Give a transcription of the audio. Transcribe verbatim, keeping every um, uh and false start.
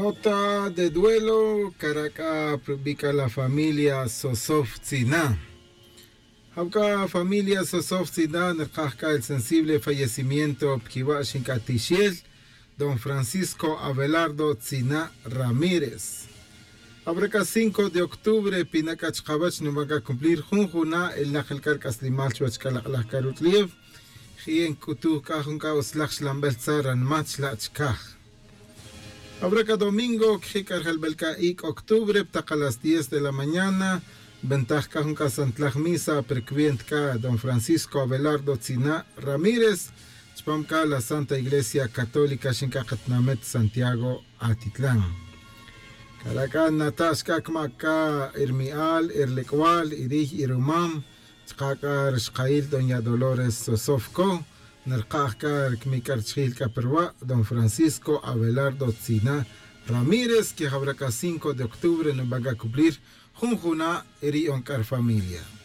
Nota de duelo. Cara' c'a pa rubi' c'a la familia sosof tzina. Jawca familia sosof tzina nerkaj c'a el sensible fallecimiento pa quiwa' xinc'a tixel, don francisco abelardo tzina ramírez. Jawra c'a cinco de octubre pina' c'a chkawech nuban c'a cumplir jun juna' el nak el c'a rc'aslimal chuwech c'a lak'laj c'a rutz'liew. Ji'e nc'utuj c'a jun c'a utzlaj xlanbel tza ranma chla' chcaj. Awra c'a domingo quiji' c'a rjelbel c'a ic' octubre pa tak a las diez de la mañana. Nbentaj c'a jun c'a santlaj misa pa rcuenta c'a don francisco abelardo tzina' ramírez chupam c'a la santa iglesia católica xinc'a katinamit santiago atitlan. Cara' c'a nata' xc'a cmac c'a i rmi'al i rlec'wal i riy i rumam. Chka' c'a rixkail doña dolores sosofco. Nrkaj c'a rcmic c'a richijil c'a pa ruwa' don francisco abelardo tzina' ramírez quejawra c'a cinco de octubre nuban c'a cumplir jun juna' ri on c'a rfamilia.